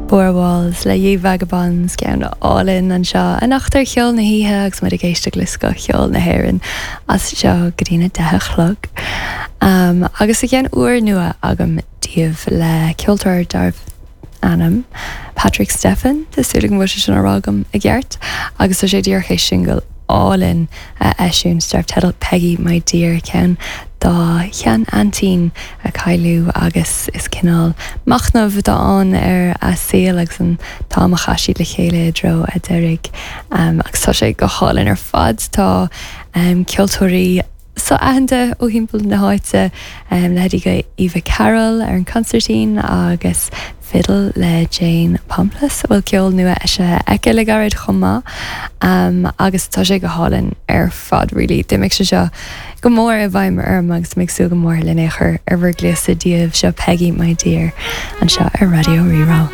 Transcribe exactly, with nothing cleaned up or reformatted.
Four Walls le Ye Vagabonds ceann álainn anseo anocht ar Cheol na hOíche agus muid ag éisteacht le scothcheol na hÉireann as seo go dtí a deich a chlog. Um, agus tá ceann úrnua agam daoibh le ceoltóir darbh ainm Patrick Stephen Tá súil agam go bhfuil sé sin á rá agam i gceart agus tá sé díreach théis singil álainn a eisiúint darb teideal Peggy My Dear ceann dá shean-aintín a cailleadh agus is cineál machnamh atá ann ar a saol agus an t-am a chaith siad le chéile i dtreo a deiridh um, agus tá sé go hálainn ar fad tá um, ceoltóirí so-aitheanta ó thimpeall na háite um, leithéidí Eva Carroll ar an consairtín agus fiddle le Jane Pomplas bhfuil ceol nua eisithe aici le gairid chomh maith um, agus tá sé go hálainn ar fad really d'imigh sé seo go mór i bhfeidhm orm agus mé ag súil go mór lena chur ar bhur gcluasa daoibh seo Peggy My Dear anseo ar Raidió Rí-Rá.